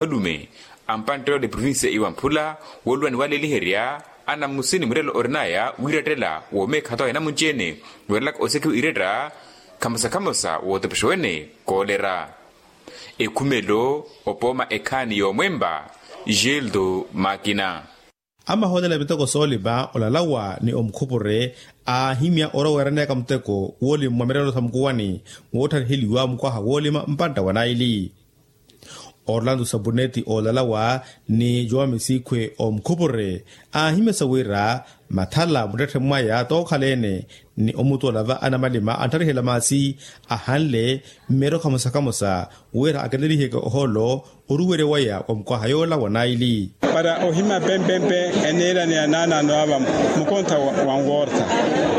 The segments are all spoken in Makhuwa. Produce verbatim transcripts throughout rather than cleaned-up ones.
Alume ampantte yoole provincia iwamphula wooluwa ni waleeliherya anamusi ni murelo orinaya wiirettela woomeekha ata wa inamunci-ene weerelaka osekiwa iretta khamosa khamosa wootepexewene koolera. Ekhumelo opooma ekhaani yoomwempa. Geldo makina. Amahoolela miteko soolima olalawa ni omukhupure aahimya oroweeraneyaka muteko woolima mwa mirelo sa mukuwani woottariheliwa mukwaha woolima mpantta wa naili. Orlando sabuneti oolalawa ni joão misikhwe omukhupure aahimyasa wira mathala muttetthe mwaya tookhala-ene ni omutola va anamalima anttarihela maasi ahanle mmeero khamosa khamosa wira aketeliheke ohoolo oruwerya waya wa mukwaha yoola wa naili. Para ohima pempempe eniira ni anaanaano ava mukontha wa nworta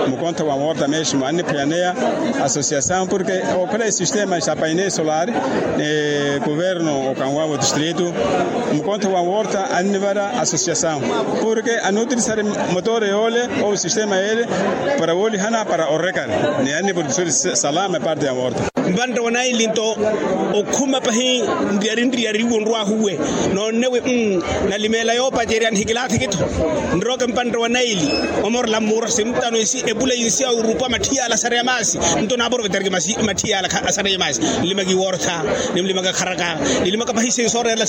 mukontha wa nworta mesmo anniphiyaneya asosiasaw porke okhala esistema sa paine solar ni kuverno okanwawa otistritu mukontha wa nworta annivara asosiasaw porke anuutirisari motore yoole ou sistema yeele para woolihana para orrekari ni anniproduksori salama eparte ya nworta. Mpantte wa naili nto okhuma pahi nriyari nriyari iwo nrwahuwe noonnewe. Nalimeela yoopacerya nihikilathiki-tho nroke mpantte wa naili omorela mmuura sintano esi epula yinsi ya orupa matthiyala asareya maasi. Nto naaprovetariki matthiyala asareya maasi nlimaka iwortha nimlimaka kharaka nilimaka pahi sinsoorerela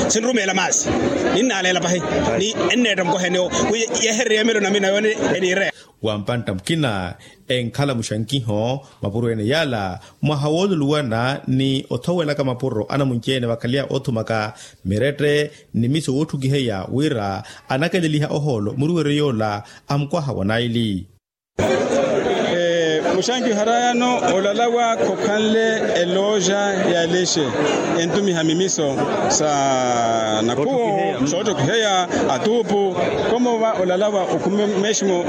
sinrumeela maasi ninnaaleela pahi ni enneetta mukohenewo wi yehererya emelo namina yoone eniireya. Wa mpantta mukina enkhala muxankiho mapuro ene yaala mwaha wooluluwana ni othowelaka mapuro anamunci-ene vakhaleya oothumaka mirette ni miso wootthukiheya wira anakeleliha ohoolo muruweryo yoola a mukwaha wa naili. Muxankiho arayano olalawa khokhanle eloja ya lexe entumiha mimiso sa nakhuwo soottokiheya atuupu. Komo va olalawa okhume mesmo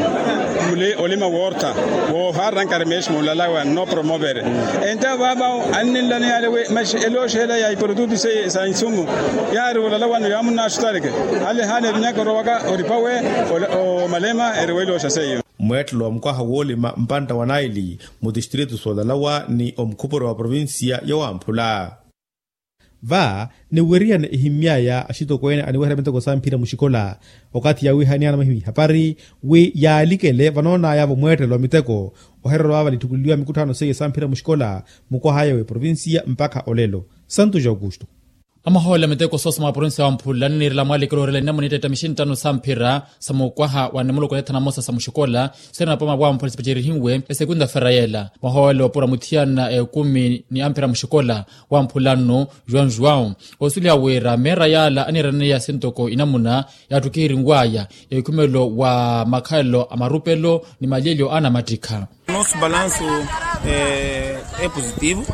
mule olima woortha woohaarirankari mesmo olalawa nnopromovere enta vava anninlaneyale wi maxi eloxela ya iprodutu seiye sa insumu yaari olalawano yaamunnaxutareke ale hale vinyaka orowaka oripawe omalema eriwa eloxa seiyo. Mweettelo wa mukwaha woolima mpantta wa naili mutistritu soolalawa ni omukhupuro wa provincia yowamphula. Va niweriyane ehimmyaya axitokweene aniweherya miteko samphira muxikola okathi yaawihaniyana mahimihapari wi yaalikele vanoonayavo mweettelo wa miteko ohererwa vava nitthukuleliwa mikutthano seiye samphira muxikola mukwahaya w'eprovincia mpakha olelo. Santu ja aukusto. Amahoolela miteko soosoma wa provincia wa mphula anniirela mwaalikelo orela inamuna itteetta mixinttano samphira sa mukwaha wa nimuloko neethana mosa sa muxikola sirina poma wa mphula sipacerihiwe esekunda fera yeela mwahoole opura muthiyana ekumi ni amphira muxikola wa mphula nnu. Juan juan osuliha wira meera yaala aniiraneya sintoko inamuna yaattukihirinwaya ekhumelo wa makhalelo a marupelo ni malyelyo a anamattikha. Nosso balanço é positivo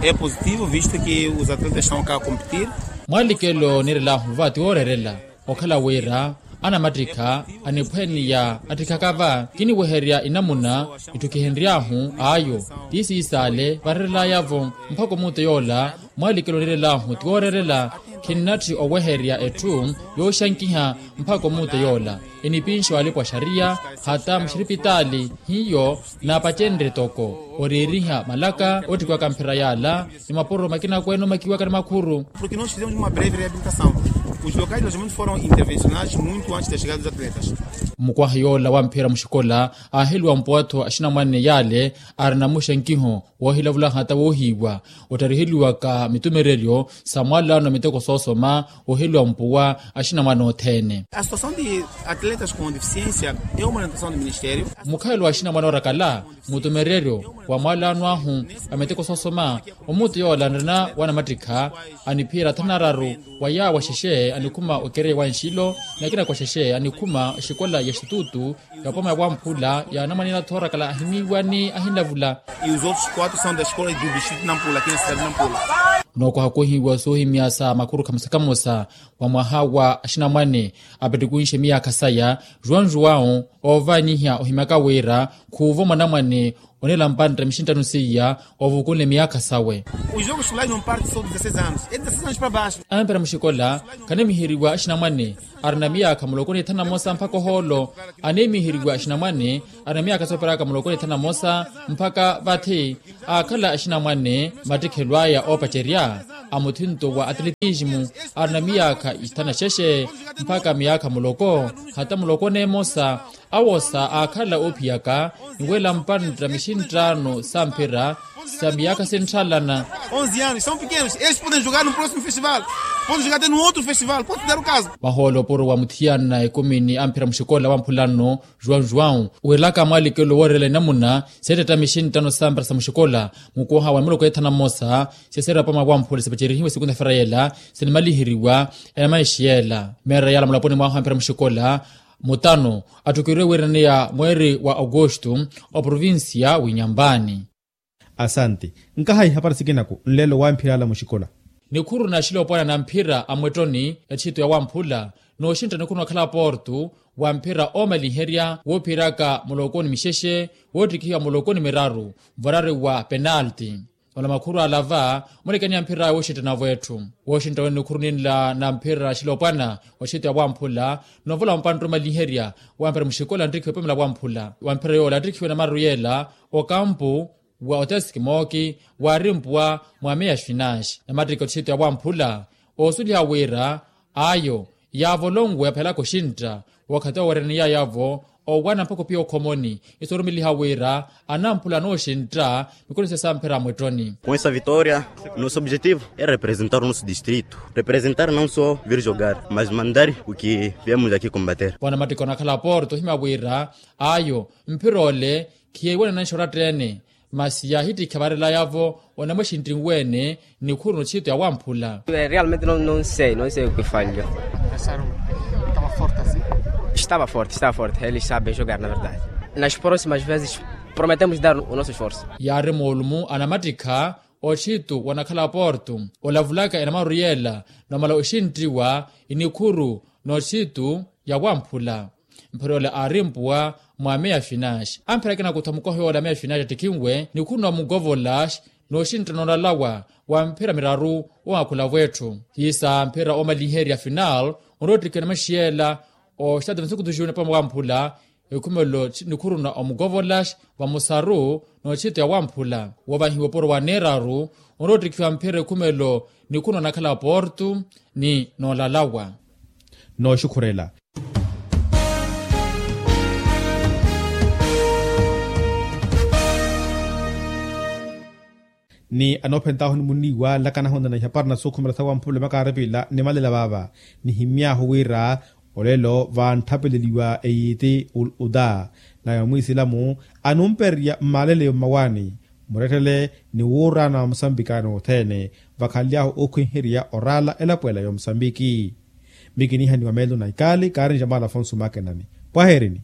é positivo visto que os atletas estão ka competir. Mwaalikelo niirelahu va ti wooreerela okhala wira anamattikha aniphweniya attikhaka va kiniweherya inamuna itthukihenry'ahu ayo ti siisaale vareerel'ayavo mpakha omuuto yoola. Mwaalikelo niirelahu ti wooreerela khinnatthi oweherya etthu yooxankiha mpakha omuuto yoola enipinxe walipa wa xariya hata muxiripitaali hiyo naapacenrye toko oriiriha malaka oottikiwaka mphira yaala ni mapuro makina akweene omakiwaka ni makhuru. Porque nós fizemos uma breve reabilitação. Os locais de alojamento foram intervencionados muito antes da chegada dos atletas. Mukwaha yoola wa mphira muxikola aaheliwa mpuwa-tho axinamwane yaale arina muxenkiho woohilavula hata woohiiwa ottariheliwaka mitumereryo sa mwaalano a miteko soosoma oheliwa mpuwa axinamwane othene. A situação de atletas com deficiência é uma orientação do ministério. Mukhalelo wa axinamwane orakala mutumereryo wa mwaalano ahu a miteko soosoma omuuto yoola anrina wanamattikha aniphiira thanu na araru wa yaawo axexe anikhuma okereya wa nxilo ni akina kwa xexe anikhuma oxikola ya xitutu ya poma ya wamphula ya anamwane ena thoorakala ahimiiwa ni ahinlavula. E os outros quatro são da escola do distrito nampula aqui na cidade nampula. Nookwaha koohiiwa soohimya sa makhuru khamosa khamosa wa mwaha wa axinamwane apettikunxe miyaakha saya juan juan oovaniha ohimyaka wira khuuvo mwanamwane oneela mpantta mixinttano seiya ovukunle miyaakha sawe. Os jogos escolares não parte só de dezasseis anos é dezasseis anos para baixo. Ampira muxikola khanimiheriwa axinamwane arina miyaakha muloko ni thanu na mosa mpakha ohoolo animiheriwa axinamwane arina miyaakha sooperaka muloko ni thanu na mosa mpakha vathi aakhala axinamwane mattikhelo aya oopacerya. A muthinto wa atletismu arina miyaakha ithanu na xexe mpakha miyaakha muloko, hata muloko neemosa awosa aakhala oophiyaka ni wela mpantta mixinttaano sa mphira sa miyaakha sintthaalana. Onze anos são pequenos, estes podem jogar no próximo festival, podem jogar até no outro festival, pode dar o caso. Mahoolo opuro wa muthiyana ekumi ni amphira muxikola wa mphulano juwau juwau, wiiraka mwalikelo wooreela inamuna seettetta mixinttano sa mphira sa muxikola mukoha wa nimuloko ethanu na mmosa. Seseerapama wa mphula sipacerihiwe sikunta-feera yeela sinimaliheriwa enamaishi yeela meera yaala mulaponi mwahu amphira muxikola mutano attukeriwe wiiraneya mweeri wa augusto oprovincia w'inyampani. Asanti. Nkaha ihapari sikinaku nlelo wamphirala muxikola. Nikhuru na axilopwana na mphira a mwettoni etthito ya wamphula nooxintta nikhuru nakhala portu wa mphira oomaliherya woophiraka mulokoni mixexe woottikihiwa mulokoni miraru mvarari wa penalti. Ola makhuru ala va mulekani ya mphira wooxintta navo etthu wooxintta wene nikhuru ninla na mphira axilopwana wa etthito ya wamphula. Novola wa mpantta oomaliherya wa mphira muxikola anttikhiwe pamela wamphula wa mphira yoola attikhiwe na mararu yeela okampu wa oteski mooki waarimpuwa mwa meya xinaxi namattikha otthito ya wamphula. Oosuliha wira ayo yaavo olonwe aphelaka oxintta wookhati owo weerene yaayavo owana mpakha opiya okhomoni. Isorumeliha wira anamphula anooxintta mikono sesa mphira mwettoni. Com essa vitória nosso objetivo é representar o nosso distrito, representar não só vir jogar mas mandar o que viemos aqui combater. Vanamattikha onakhala porto ohimya wira ayo mphira ole khiyeewanana nxoratta ene masi yaahittikha varelayavo onamwexintti nweene nikhuru notthito ya wamphula. Realmente não sei não sei o que falho. Estava forte estava forte ele sabe jogar na verdade nas próximas vezes prometemos dar o nosso esforço. Yaari moolumu anamattikha otthito wanakhala porto olavulaka enamaru yeela nomala oxinttiwa inikhuru notthito ya wamphula. Mphira ole aarimpuwa mwa meya finaxi amphira akina kutha mukohe yoola meya finaxi attikhinwe nikhuru na mugovolaxi nooxintta noolalawa wa mphira miraru owakhula vwetthu. Hiisa mphira oomaliherya final onroottikhiwa namaxiyela oxitatu na nsukutu junior pamela wamphula ekhumelo nikhuru na omukovolaxi vamusaru nootthito ya wamphula woovahiwa opuro wa neeraru onroottikhiwa mphira ekhumelo nikhuru na onakhala porto ni noolalawa. Nooxukhurela ni anoophentaahu nimuniiwa nlakanahu nana ihapari na sookhumela sa wamphula makaaripila nimalela vaava nihimyaahu wira olelo vantthapeleliwa eyiiti uda naya mwiisilamu anumpererya mmaleleyo mmawaani murettele ni wuuraana wa musambiki anothene vakhanly'ahu okhwinherya oraala elapo ela ya omusambiki. Mikinihaniwa meelo na ikaali kaarinja maala afonso makenani pwaheerini.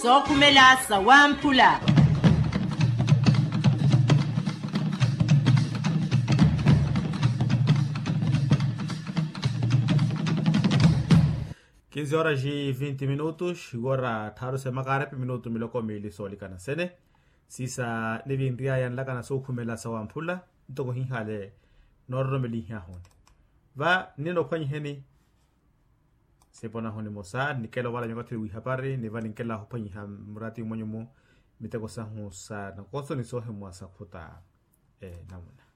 Sookhumela sa wamphula. Kinzi horas e vinte minutos iwora tthaaru semakarepe minutu miloko miili soolikana sene. Siisa nivinry'aya nlakana sookhumela sa wamphula ntoko hinhale noororomelihihuni va ninophwanyiheni. Siponahu nimosa nikela ovala nyokatthiri wihapari ni va ninkela ophwanyiha murati mwenyumu miteko sahu sa nakoso ni soohimwa sa khuta namuna.